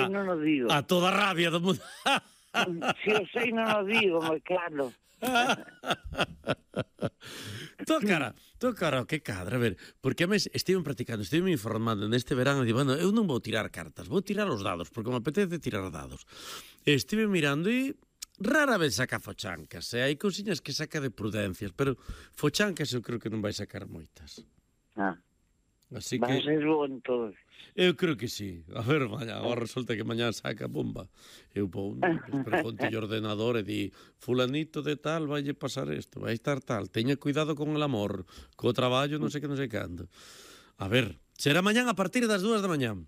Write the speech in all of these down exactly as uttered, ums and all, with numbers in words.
non o digo. A toda rabia do mundo. Se o sei non o digo, moi claro. Tô cara, tô cara, que cadra, a ver, porque a mes estive practicando, estive informando neste verano, e digo, bueno, eu non vou tirar cartas, vou tirar os dados, porque me apetece tirar dados. Estive mirando e rara vez saca fochancas, e hai cousiñas que saca de prudencias, pero fochancas eu creo que non vai sacar moitas. Ah, Así vai que ser bo entón. eu creo que sí. A ver, mañá, agora resulta que mañá saca bomba. Eu vou, pregunte o ordenador e di, fulanito de tal, vaille pasar isto, vai estar tal, teña cuidado con el amor, co traballo, non sei que, non sei cando. A ver, será mañán a partir das dúas da mañán.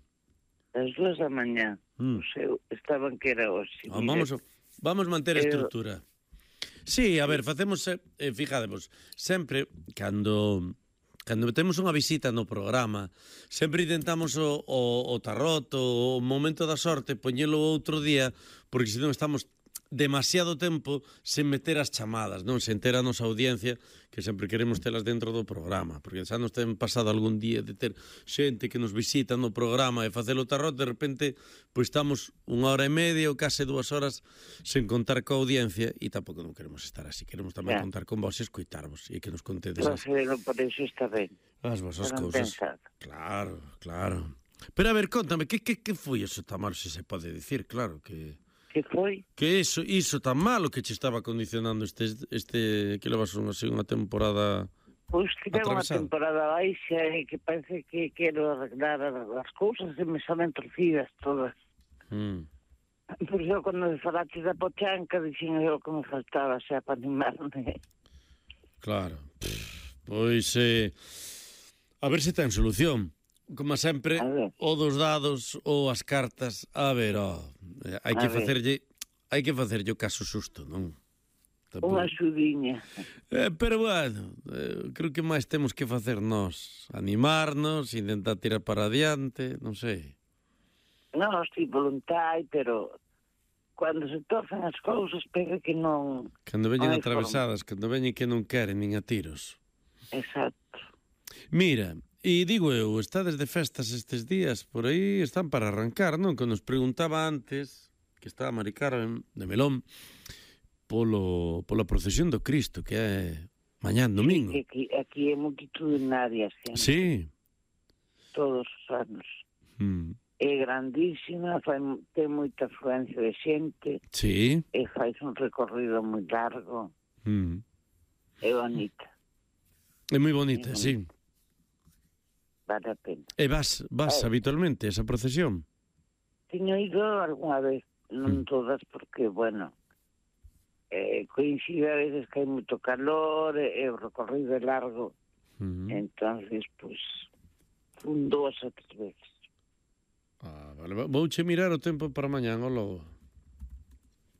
As dúas da mañá. Mm. O seu, estaban que era hoxe. Ah, vamos, vamos manter a estrutura. Sí, a ver, facemos, eh, fijademos, sempre, cando... Cando temos unha visita no programa, sempre intentamos o, o, o tarot, o, o momento da sorte, poñelo outro día, porque senón estamos demasiado tempo sen meter as chamadas, non? Sen ter a nosa audiencia, que sempre queremos telas dentro do programa, porque xa nos ten pasado algún día de ter xente que nos visita no programa e facer o tarot, de repente, pois estamos unha hora e media ou case dúas horas sen contar coa audiencia, e tampouco non queremos estar así, queremos tamén yeah. contar con vos e escoitarvos, e que nos contedes as... Pero por iso está ben. As vosas cousas. Claro, claro. Pero a ver, contame, que, que, que foi eso tan malo, se se pode dicir, claro, que... Que foi? Que iso, iso tan malo que che estaba condicionando este, este que levas unha, así, unha temporada Pois que ten unha atravesada. temporada baixa e que parece que quero arreglar as cousas e me salen torcidas todas. Mm. Por iso, cando me falaste da pochanca, dixen eu que me faltaba xa para animarme. Claro. Pff, pois, eh, a ver se ten solución. Como sempre, o dos dados ou as cartas, a ver, oh, hai que facerlle, hai que facerlle o caso xusto, non? Unha xudiña. Eh, pero bueno, eh, creo que máis temos que facer nós, animarnos, intentar tirar para adiante, non sei. Non, si voluntad, pero cando se torcen as cousas, pega que non... Cando veñen atravesadas, cando veñen que non queren, nin a tiros. Exacto. Mira, e digo eu, estades de festas estes días, por aí están para arrancar, non? Que nos preguntaba antes, que estaba Mari Carmen de Melón, polo, pola procesión do Cristo, que é mañán domingo. Sí, aquí, aquí é multitudinaria, sempre. Sí. Todos os anos. Mm. É grandísima, fai, ten moita afluencia de xente. Sí. E fai un recorrido moi largo. Mm. É bonita. É moi bonita, é sí. Vale a pena. E vas, vas eh, habitualmente a esa procesión? Teño ido algunha vez, non mm. todas, porque, bueno, eh, coincide a veces que hai moito calor, e o recorrido é largo, mm. entonces, pues, un dúas ou tres veces. Ah, vale, vouche mirar o tempo para mañán, o logo.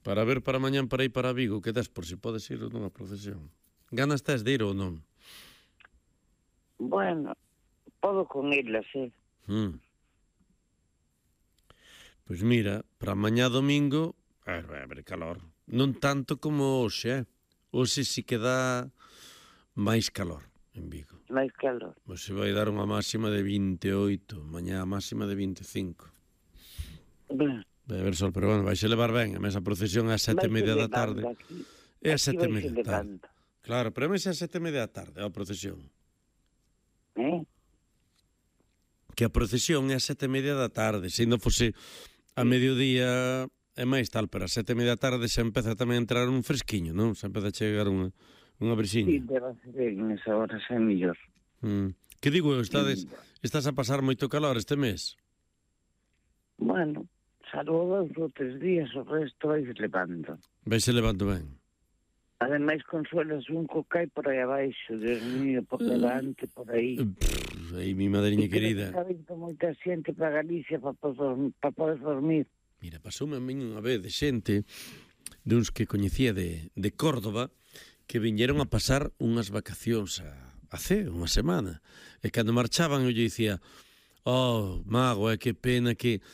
Para ver para mañán para ir para Vigo, que das por si podes ir nunha procesión. Ganas tes de ir ou non? Bueno, podo con elas, eh? Mm. Pois mira, para mañá domingo, a ver, vai haber calor. Non tanto como hoxe, eh? Hoxe si que dá máis calor en Vigo. Máis calor. Pois se vai dar unha máxima de vinte e oito, mañá a máxima de vinte e cinco. Ben. Vai haber sol, pero bueno, vai se levar ben. A mesa procesión é a sete e media da tarde. Aquí, é a sete e media da tarde. Claro, pero a mesa é a sete e media da tarde, a procesión. Eh? Que a procesión é a sete e media da tarde. Se non fose a mediodía é máis tal, pero a sete e media da tarde xa empeza tamén a entrar un fresquiño, non? Xa empeza a chegar unha, unha brisiña. Sí, debe ser nesa hora xa é mellor. Mm. Que digo eu, estades, estás a pasar moito calor este mes? Bueno, salvo dos ou tres días, o resto vai se levando. Vai se levando ben. Ademais, consuelas un cocai por aí abaixo, Dios mío, por delante, por aí. Pff, aí, mi madriña querida. Está vindo moita xente para Galicia para poder, para poder dormir. Mira, pasoume a min unha vez de xente, duns que coñecía de, de Córdoba, que viñeron a pasar unhas vacacións a, a ce, unha semana. E cando marchaban, eu lle dicía, oh, mago, é que pena que,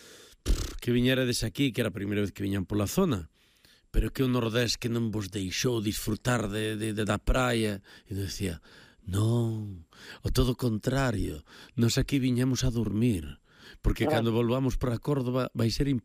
pff, que viñerades aquí, que era a primeira vez que viñan pola zona. Pero que o Nordés que non vos deixou disfrutar de, de, de da praia. E eu decía, non, o todo contrario, nos aquí viñamos a dormir, porque claro, cando volvamos para Córdoba vai ser imposible